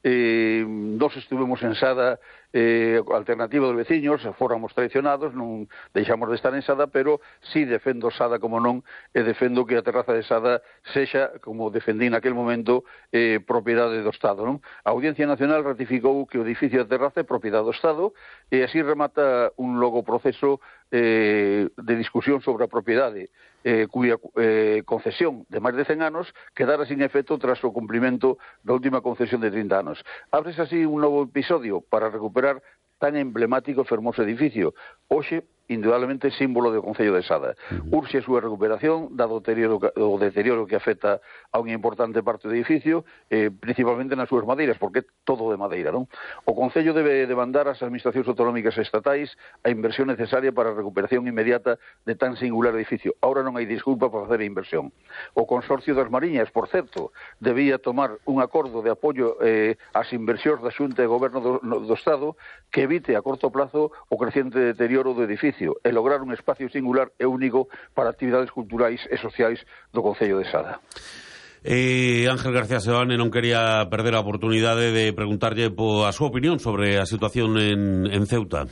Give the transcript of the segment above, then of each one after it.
Nós estuvemos en Sada alternativa dos veciños, fóramos traicionados, non deixamos de estar en Sada, pero sí defendo Sada como non, e defendo que a terraza de Sada sexa, como defendí naquel momento, propiedade do Estado, non? A Audiencia Nacional ratificou que o edificio da terraza é propiedade do Estado, e así remata un longo proceso de discusión sobre a propiedade, cuya concesión de máis de 100 anos quedara sin efecto tras o cumprimento da última concesión de 30 anos. Ábrese así un novo episodio para recuperar tan emblemático e fermoso edificio, hoxe, indudablemente, símbolo do Concello de Sada. Urxe a súa recuperación, dado o deterioro que afecta a unha importante parte do edificio, principalmente nas súas madeiras, porque é todo de madeira, non? O Concello debe demandar ás administracións autonómicas e estatais a inversión necesaria para a recuperación inmediata de tan singular edificio. Ahora non hai disculpa para facer a inversión. O Consorcio das Mariñas, por certo, debía tomar un acordo de apoio ás inversións da Xunta de Goberno do Estado que evite a corto plazo o crecente deterioro do edificio e lograr un espacio singular e único para actividades culturais e sociais do Concello de Sada. Ángel García Seoane non quería perder a oportunidade de preguntarlle a súa opinión sobre a situación en Ceuta.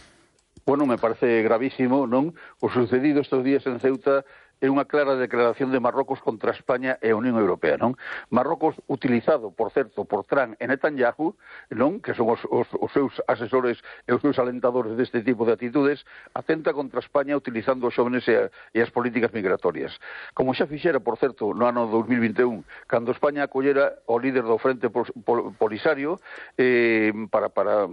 Bueno, me parece gravísimo, non? O sucedido estes días en Ceuta é unha clara declaración de Marrocos contra España e a Unión Europea, non? Marrocos, utilizado, por certo, por Trump e Netanyahu, non? Que son os seus asesores e os seus alentadores deste tipo de actitudes, atenta contra España utilizando os xóvenes e as políticas migratorias. Como xa fixera, por certo, no ano 2021, cando España acollera o líder do Frente Polisario para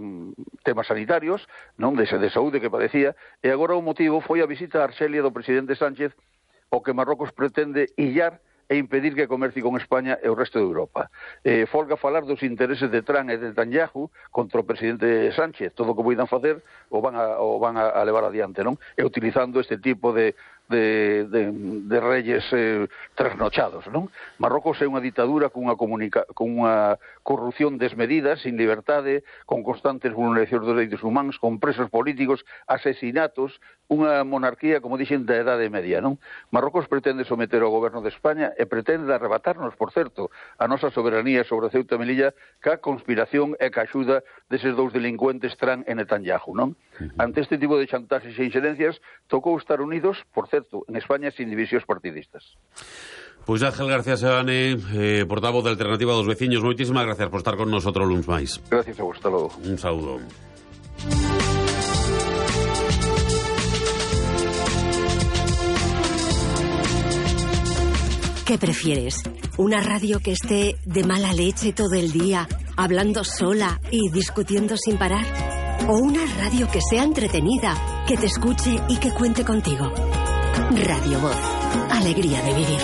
temas sanitarios, non? De saúde que padecía, e agora o motivo foi a visita a Arxelia do presidente Sánchez, o que Marrocos pretende illar e impedir que comercie con España e o resto de Europa. Folga falar dos intereses de Trump e de Netanyahu contra o presidente Sánchez. Todo o que poidan facer o van a levar adiante, non? E utilizando este tipo de reyes trasnochados, non? Marrocos é unha ditadura cunha corrupción desmedida, sin liberdade, con constantes vulneracións dos dereitos humanos, con presos políticos, asesinatos, unha monarquía, como dixen, da Edade Media, non? Marrocos pretende someter ao goberno de España e pretende arrebatarnos, por certo, a nosa soberanía sobre Ceuta e Melilla ca conspiración e ca axuda deses dous delincuentes Trump e Netanyahu, non? Ante este tipo de chantaxes e inxerencias, tocou estar unidos, por certo, en España sin divisións partidistas. Pois Ángel García Seoane, portavoz da Alternativa dos Veciños, moitísimas gracias por estar con nosotros luns máis. Gracias a vos, hasta logo. Un saúdo. ¿Qué prefieres? ¿Una radio que esté de mala leche todo el día, hablando sola y discutiendo sin parar? ¿O una radio que sea entretenida, que te escuche y que cuente contigo? Radio Voz. Alegría de vivir.